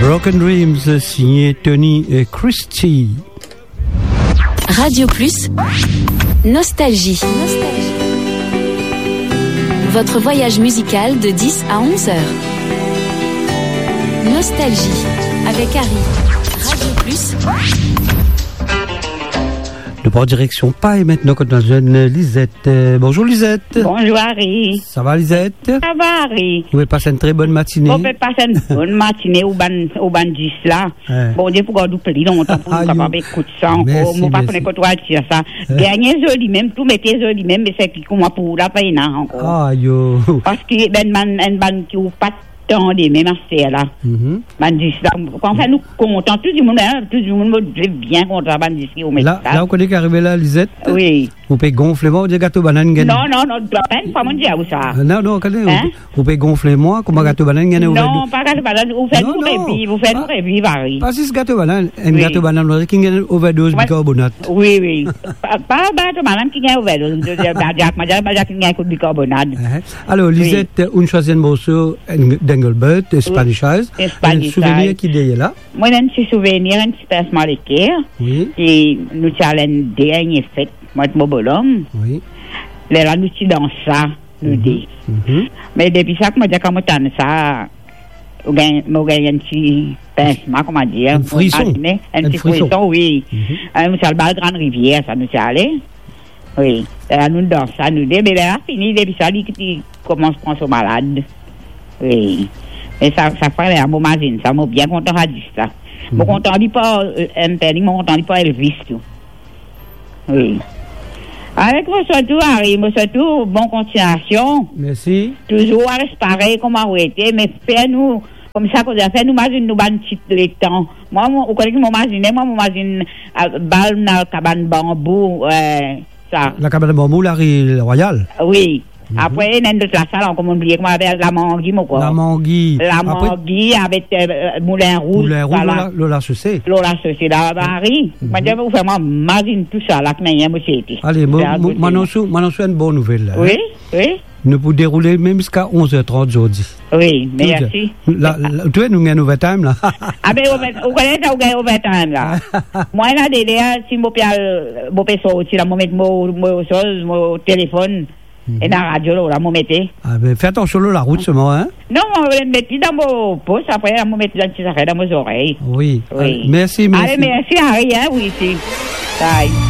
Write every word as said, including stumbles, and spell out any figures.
Broken Dreams, signé Tony, euh, Christie. Radio Plus, Nostalgie. Nostalgie. Votre voyage musical de dix à onze heures. Nostalgie, avec Harry. Radio Plus. Nou pran direksion Pay aster, kot nou ena Lisette. Euh, bonzour Lisette. Bonzour Harry. Sa va Lisette? Sa va Harry. Ou pe pas enn tre bonn matine. Mo pe pas enn bonn matine, ou bann, ou bann dis la. Hein. Bondie pou gard ou pli lontan pou nou kapav ekout sa ankor. Mersi, mersi. Mo pa kone kot ou al tir sa. Hein. Gagn zoli mem, tou mete zoli mem, me se ki kouma pou la pena ankor. Ayo. Parski bann, bann, enn bann ki ou pa tande mem aster la. Mhm. Bann dis la, anfin nou kontan, tou dimoun, hein, tou dimoun, mo bien kontan bann dis ki ou met la. La, ou kone ki arive la, Lisette? Wi. Ou pe gonfle mwa, ou dir gato banann gagn. Non, non, non, apenn, pa mo dir ou sa. Non, non, kone, hein? Ou pe, ou pe gonfle mwa, kouma gato banann gagn ouverdose. Non, pa gato banann, ou fer nou reviv, ou fer nou reviv, Harry. Pa zis gato banann, enn gato banann, ou dir ki gagn ouverdose bikarbonat. Wi, wi. Pa, pa gato banann ki gagn ouverdose, de, de, de, de, de, de, ki gagn kout bikarbonat. Hein? Alor, Lisette, ou swazir enn morso, enn d'Engelbert, Spanish Eyes. Enn souvenir ki deryer la? Mwa, enn ti souvenir, enn ti pinsman leker. Wi. E nou ti al enn dernie fet, mwa ek mo bolom. Wi. Lerla nou ti dansa, nou de. Mhm. Me depi sa, kouma dir, kan mo tann sa, mo gagn, mo gagn enn ti pinsman, kouma dir, enn frison. Enn ti frison, wi. Mhm. Eh, nou ti al bal Grann Rivier, sa nou ti ale. Wi, lerla nou dansa, nou de, me lerla fini, depi sa, li, li koumans pran so malad. Wi. Me sa, sa fwa la, mo mazinn sa, mo bien kontan sa dis la. Mo kontan li par, euh, M P L, mo kontan li par Elvis tou. Wi. Avek mo swet ou, Harry, mo swet ou bon kontiniasion. Mersi. Touzour res parey kouma ou ete, me fer nou, koumsa, koumsa, fer nou mazinn nou bann ti letan. Mwa, mo, ou kone ki mo mazinn, mwa, mo mazinn, euh, bal dan kabann banbou, euh, sa. Lakabann banbou, lari Royal. Wi. Mhm. Apre, ena enn lot lasal ankor, mo bliye kouma apel, Lamangi, mo krwar. Lamangi. Apre Lamangi avek, euh, Moulin Rouz, Moulin Rouz, sa la. Lor la, lor lasose. Lor lasose, la, Harry. Mhm. Mo dir ou fer mwa mazinn tou sa la, ki manier mo ti ete. Ale, mo, mo, mo anons ou, mo anons ou enn bon nouvel la, hein. Wi, wi. Nou pou deroule mem ziska onz er trant zordi. Wi, mersi. La, la, ou trouve nou gagn overtime la. Ah, be, over-, ou kone sa, ou gagn overtime la. Mwa, ena de ler, si mo pe al, mo pe sorti la, mo met mo, mo soz, mo telefonn, ena radio la, mo mete. Ah, be, fer atansion lor larout selman, hein. Non, mo met li dan mo pos, apre, mo met li dan ti zafer dan mo zorey. Wi. Wi. Ah, mersi, mersi. Ale, mersi, Harry, hein, wi, si. Bye.